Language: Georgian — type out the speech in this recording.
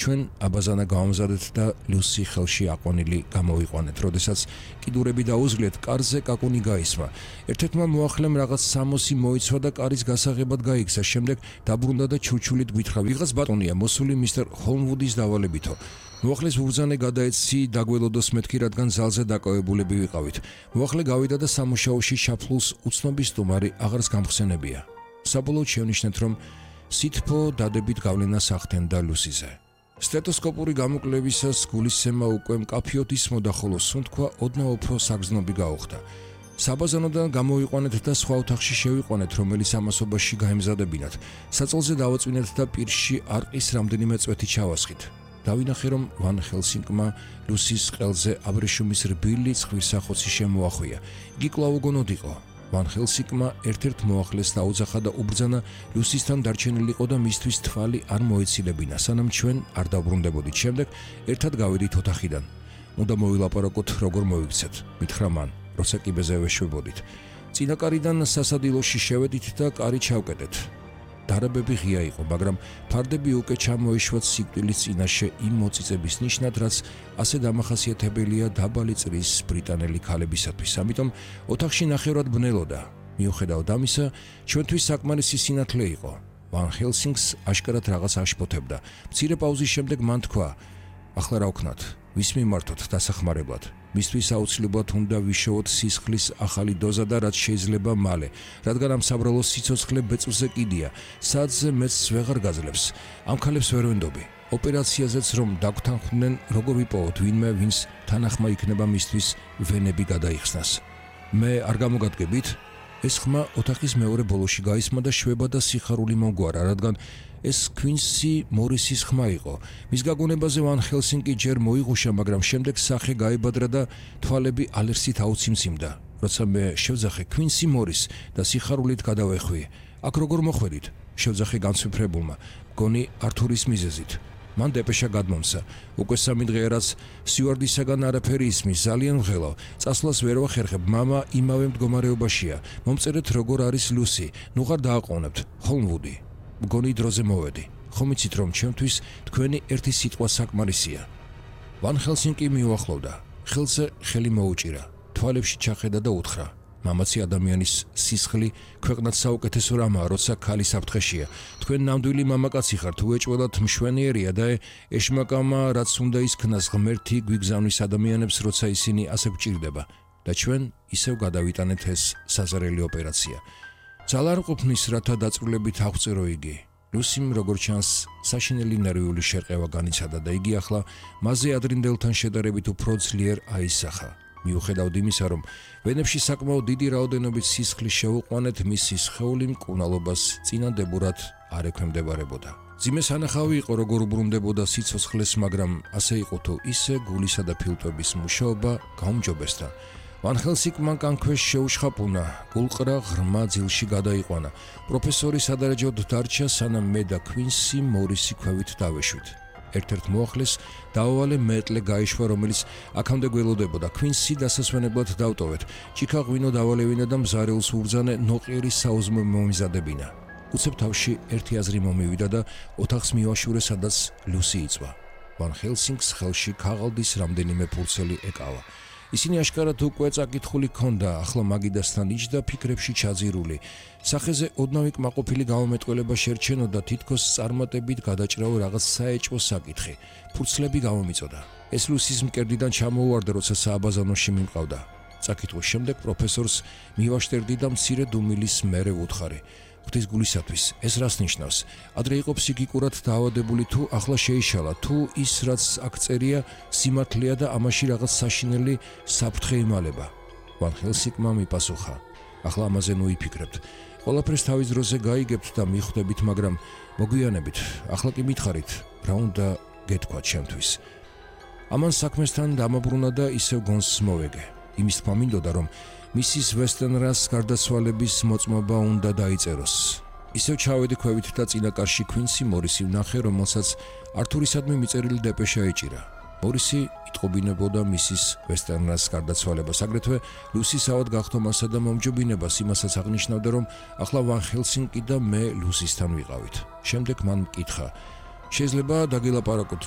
ჩვენ აბაზანა გავამზადეთ და ლუსი ხელში აყვანილი გამოვიყვანეთ. როდესაც კიდურები დაუზღლეთ, კარზე კაკუნი გაისმა. ერთ-ერთმა მოახლემ რაღაც სამოსი მოიცვა და კარის გასაღებად გაიქცა. შემდეგ დაბრუნდა და ჩურჩულით გვითხრა: "ვიღაც ბატონია მოსული მისტერ ჰოლმვუდის დავალებითო. მოახლის ბურძანე გადაეცი დაგველოდოს მეთქი, რადგან ზალზე დაკავებულები ვიყავით. მოახლე გავიდა და სამუშაოში ჩაფლულს უცნობი სტუმარი აღარს გამხსენებია. საბოლოოდ შევნიშნეთ, რომ სითბო დადებით გავლენას ახდენდა ლუსიზე. სტეტოსკოპური გამოკლებისას გულისცემა უკვე მკაფიოდ ისმოდა, ხოლო სუნთქვა ოდნავ უფრო საგრძნობი გაუხდა. საბაზანოდან გამოვიყვანეთ და სხვა ოთახში შევიყვანეთ, რომელიც ამასობაში გაემზადებინათ. საწოლზე დავაწვინეთ და პირში არყის რამდენიმე წვეთი ჩავასხით. დავინახე, რომ ვან ჰელსინგმა ლუსის ყელზე აბრეშუმის რბილი ცხვირსახოცი შემოახვია. იგი კვლავ უგონოდ იყო. ვან ჰელსინგმა ერთ-ერთ მოახლეს დაუძახა და უბრძანა ლუსისთან დარჩენილიყო და მისთვის თვალი არ მოეცილებინა, სანამ ჩვენ არ დავბრუნდებოდით. შემდეგ ერთად გავედით ოთახიდან. უნდა მოვილაპარაკოთ, როგორ მოიქცეთ, მითხრა მან, როცა კიბეზე ვეშვებოდით. წინაკარიდან სასადილოში შევედით და კარი ჩავკეტეთ. დარაბები ღია იყო, მაგრამ ფარდები უკვე ჩამოეშვათ სიკვდილის წინაშე იმ მოწიწების ნიშნად, რაც ასე დამახასიათებელია დაბალი წრის ბრიტანელი ქალებისათვის. ამიტომ ოთახში ნახევრად ბნელოდა. მიუხედავად ამისა, ჩვენთვის საკმარისი სინათლე იყო. ვან ჰელსინგს აშკარად რაღაც აშფოთებდა. მცირე პაუზის შემდეგ მან თქვა: "ახლა რა ვქნათ? ვის მიმართოთ დასახმარებლად? მისთვის აუცილებლად უნდა ვიშოვოთ სისხლის ახალი დოზა და რაც შეიძლება მალე, რადგან ამ საბრალოს სიცოცხლე ბეწვზე კიდია, საათზე მეც ვეღარ გაძლევს. ამ ქალებს ვერ ვენდობი. ოპერაციაზეც რომ დაგვთანხმდნენ, როგორ ვიპოვოთ ვინმე, ვინც თანახმა იქნება მისთვის ვენები გადაიხსნას. მე არ გამოგადგებით?" ეს ხმა ოთახის მეორე ბოლოში გაისმა და შვება და სიხარული მომგვარა, რადგან ეს ქვინსი მორისის ხმა იყო. მის გაგონებაზე ვან ჰელსინგი ჯერ მოიღუშა, მაგრამ შემდეგ სახე გაებადრა და თვალები ალერსით აუციმციმდა. როცა მე შევძახე ქვინსი მორის და სიხარულით გადავეხვიე. "აქ როგორ მოხვედით?" შევძახე განცვიფრებულმა. "მგონი ართურის მიზეზით." მან დეპეშა გადმომცა. "უკვე 3 დღეა, რაც სიუარდისაგან არაფერი ისმის, ძალიან ვღელავ. წასვლას ვერ ვახერხებ, მამა იმავე მდგომარეობაშია. მომწერეთ როგორ არის ლუსი. ნუ ხარ დააყოვნებთ. ჰოლმვუდი. მგონი დროზე მოვედი. ხომ იცით, რომ ჩემთვის თქვენი ერთი სიტყვა საკმარისია." ვან ჰელსინგი მიუახლოვდა. ხელზე ხელი მოუჭირა. თვალებში ჩახედა და უთხრა: "მამაცი ადამიანის სისხლი ქვეყნად საუკეთესო რამაა, როცა ქალი საფრთხეშია. თქვენ ნამდვილი მამაკაცი ხართ, უეჭველად მშვენიერია და ეშმაკამა, რაც უნდა ისქნას ღმერთი გვიგზავნის ადამიანებს, როცა ისინი ასე გვჭირდება. და ჩვენ ისევ გადავიტანეთ ეს საზარელი ოპერაცია. ძალა არ ყოფნის, რათა დაწვრილებით აღწერო იგი." ლუსიმ, როგორც ჩანს, საშინელი ნერვიული შერყევა განიცადა და იგი ახლა მასზე ადრინდელთან შედარებით უფრო ძლიერ აისახა. მიუხედავად იმისა, რომ ვენებში საკმაოდ დიდი რაოდენობით სისხლი შევუყვანეთ, მისი სხეული მკურნალობას წინადებურად არ ექვემდებარებოდა. ძიმე სანახავი იყო, როგორ უბრუნდებოდა სიცოცხლეს, მაგრამ ასე იყო თუ ისე გულისა და ფილტვების მუშაობა გაუმჯობესდა. ვან ჰელსინგმა კანქვეშ შეუშხაპუნა, გულყრა ღრმა ძილში გადაიყვანა. პროფესორი სადარაჯოდ დარჩა, სანამ მე და ქვინსი მორისი ქვევით დავეშვით. ერთ-ერთ მოახლეს დაავალე მეტლე გაიშვა, რომელიც აქამდე გველოდებოდა. ქვინსი დასასვენებლად დავტოვეთ. ჭიქა ღვინო დავალევინა და მზარეულს უბრძანე ნოყიერი საუზმე მომიზადებინა. უცებ თავში ერთი აზრი მომივიდა და ოთახს მივაშურე, სადაც ლუსი იწვა. ვან ჰელსინგს ხელში ქაღალდის რამდენიმე ფურცელი ეკავა. ისინი აშკარად უკვე წაკითხული ჰქონდა, ახლა მაგიდასთან იჯდა ფიქრებში ჩაძირული. სახეზე ოდნავი კმაყოფილი გამომეტყველება შერჩენოდა, თითქოს წარმატებით გადაჭრაო რაღაც საეჭვო საკითხი. ფურცლები გამომიწოდა. ეს ლუსის მკერდიდან ჩამოუვარდა, როცა სააბაზანოში მიმყავდა. წაკითხვის შემდეგ პროფესორს მივაშტერდი და მცირე დუმილის მერე ვუთხარი: "ღვთის გულისათვის, ეს რას ნიშნავს? ადრე იყო ფსიქიკურად დაავადებული თუ ახლა შეიშალა, თუ ის რაც აქ წერია სიმართლეა და ამაში რაღაც საშინელი საფრთხე იმალება?" ვან ჰელსინგმა მიპასუხა: "ახლა ამაზე ნუ იფიქრებთ. ყველაფერს თავის დროზე გაიგებთ და მიხვდებით, მაგრამ მოგვიანებით, ახლა კი მითხარით, რა უნდა გეთქვათ ჩემთვის." ამან საქმესთან დამაბრუნა და ისევ გონს მოვეგე. იმის თქმა მინდოდა, რომ მისის ვესტენრას გარდაცვალების მოწმობა უნდა დაიწეროს. ისევ ჩავედი ქვევით და წინაკარში ქვინსი მორისი ვნახე, რომელსაც ართურისადმი მიწერილი დეპეშა ეჭირა. მორისი იტყობინებოდა მისის ვესტერნას გარდაცვალებას, აგრეთვე ლუსის ავად გახდომასა და მომჯობინებას. იმასაც აღნიშნავდა, რომ ახლა ვან ჰელსინგი და მე ლუსისთან ვიყავით. შემდეგ მან მკითხა: შეიძლება დაგილაპარაკოთ